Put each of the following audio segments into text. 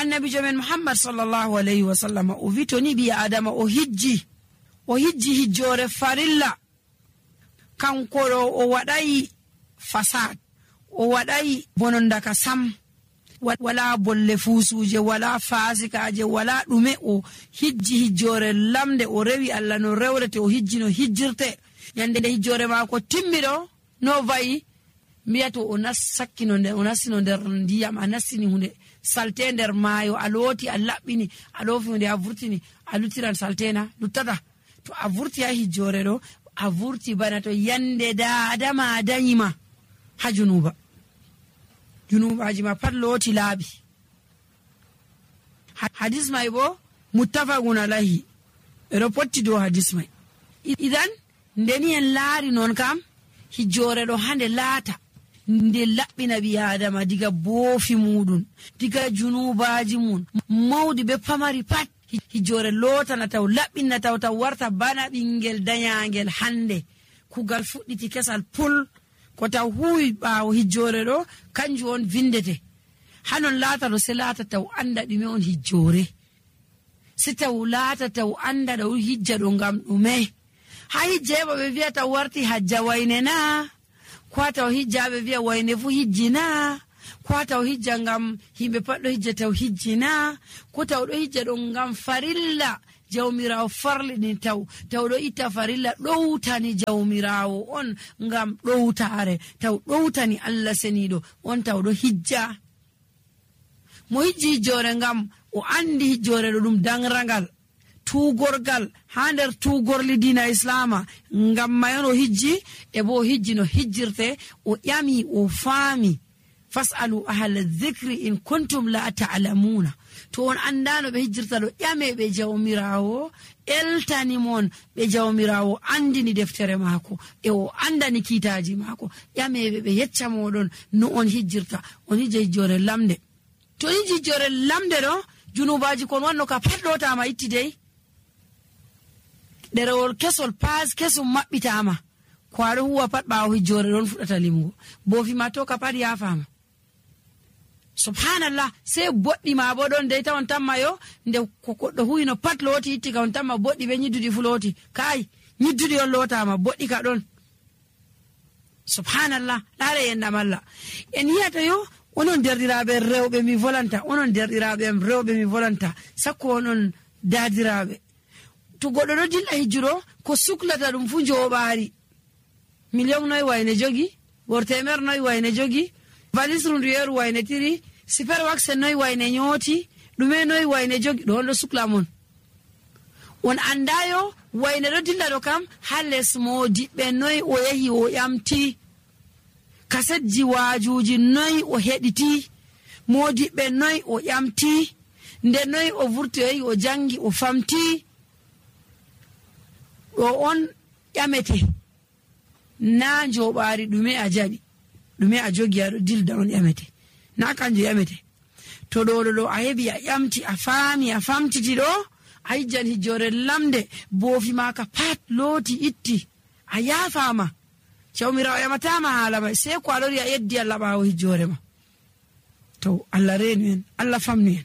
annabijo men Muhammad sallallahu alaihi wasallam o wi to ni bi adama o hijji hijjore farilla kanko o wadai fasad o wadai bonondaka sam wala bolle fusuje wala fasikaje wala dume o hijji hijjore lamde o rewi Allah no rewrete o hijji no hijjirte yande hijjore mako timmido no vayi miyato o nassakino nder o nasino nder ndiyam a nassini hunde salte nder maayo a looti a labbini a lofi hunde a vurtini a lutiran saltena luttata to a vurti ha hijjore do a vurti bana to yande da adama danyima ha junubaji ma pat looti laabi hadis mai bo muttafaqun alayhi ero potti do hadis mai idan ndeni en laari non kam hijjore do hande laata nde labbina bi adama diga boofi mudun diga junubaji mun mawdi be pamari pat hijjore lotana taw labbina taw warta bana bingel danyangel hande kugal fudditi kesal pul ko taw huwi baawo hijjore do kanju on vindete hanon laata do se laata taw anda dume on hijjore se taw laata taw anda do hijja do ngam dume ha hijjeba be wi'a taw warti hajja wayne na ko taw hijjabe wi'a wayne fu hijjina ko taw hijja ngam himbe paddo hijja taw hijjina ko taw do hijja do ngam farilla jawmirawo farlini taw do itta farilla dowtani jawmirawo on ngam dowtare taw dowtani Allah senido on taw do hijja mo hijji hijjore ngam o andi hijjore do dum dangrangal tugorgal ha nder tugorli dina islama ngam mayono hijji e bo hijji no hijjirte o yami o faami fasalu ahla dhikri in kuntum la ta'lamuna to on andano be hijjirta do yame be jawmirawo eltani mon be jawmirawo andini deftere mako e o andani kitaji mako yame be yecca modon no on hijjirta on hijjore lamde to hijjore lamde do junubaji kon wanno ka paddota ma ittidei derewol kesol pas kesum mabbitama kwaro huwa pat baawo hijjore don fudata limugo bofi ma to ka pat ya fama subhanallah se boddi ma bodon dey tawon tamma yo nde ko koddo huyino pat loti itti ka on tamma boddi be nyidudi fuloti kai nyidudi on lotama boddi ka don subhanallah laare yenda malla en yata yo onon derdirabe rewbe mi volanta onon derdirabe rewbe mi volanta sakko onon dadirabe to goddo do dilla hijjuro ko suklata dum fu jobaari million noy wayne jogi wortemer noy wayne jogi valise runduyeru wayne tiri super wax noy wayne nyoti dume noy wayne jogi do suklamon on andayo wayne do dilla do kam hales modi be noy o yahi o yamti kasetji wajuji noy o hediti modi be noy o yamti nde noy o vurti o jangi o famti do on yamete na jobaari dume a jabi dume a jogi ado dilda on yamete na kanjo yamete to do a hebi a yamti a faami a famtiti do a hijjan hijjore lamde bofi maka pat loti itti a yafama chawmirawo yamatama halama sai ko alori a yeddi Allah bawo hijjore ma to Allah renu en Allah famnu en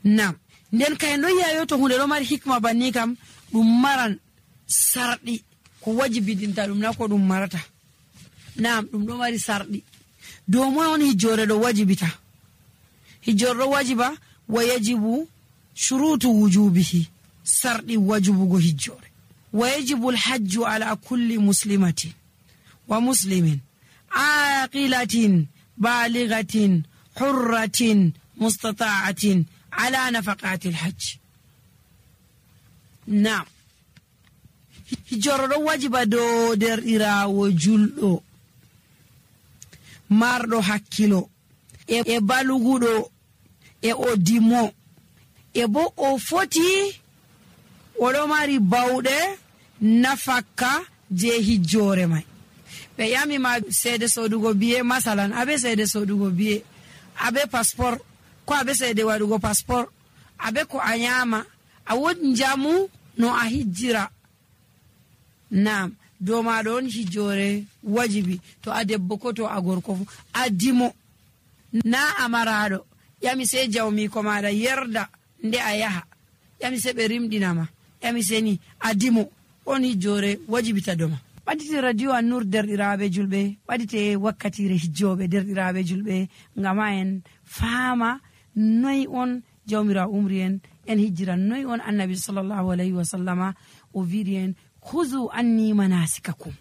nam nden kay no yayo to hunde do mari hikma banni kam dum maran sardi ko wajibi dinta dum na ko dum marata nam dum do mari sardi do mo on hijjore do wajibita hijjore wajiba wa yajibu shurutu wujubihi sardi wajibu go hijjore wa yajibu alhajju ala kulli muslimatin wa muslimin aqilatin balighatin hurratin mustata'atin ala nafaqati alhajj nam hijjore do wajiba do derɗirawo julɗo marɗo hakkilo e baluguɗo e o dimo e bo o foti oɗo mari bawɗe nafakka je hijjore mai be yami ma seede sodugo biye masalan abe seede sodugo biye abe passport ko abe seede wadugo passport abe ko anyama a wodi jamu no a hijjira nam do ma don hijjore wajibi to a debbo ko to a gorko fu adimo na amarado ƴami sey jawmiko maɗa yerda nde a yaha, ƴami sey ɓe rimɗinama, ƴami seni adimo on hijjore wajibita doma. ɓaɗite radio An-Nur derɗiraɓe julɓe, ɓaɗite wakkatire hijjoɓe derɗiraɓe julɓe, ngam ha en faama noy on jawmirawo umri en hijjira, noy on annabi sallallahu alayhi wa sallama o wiɗi en huzu anni manasikakum,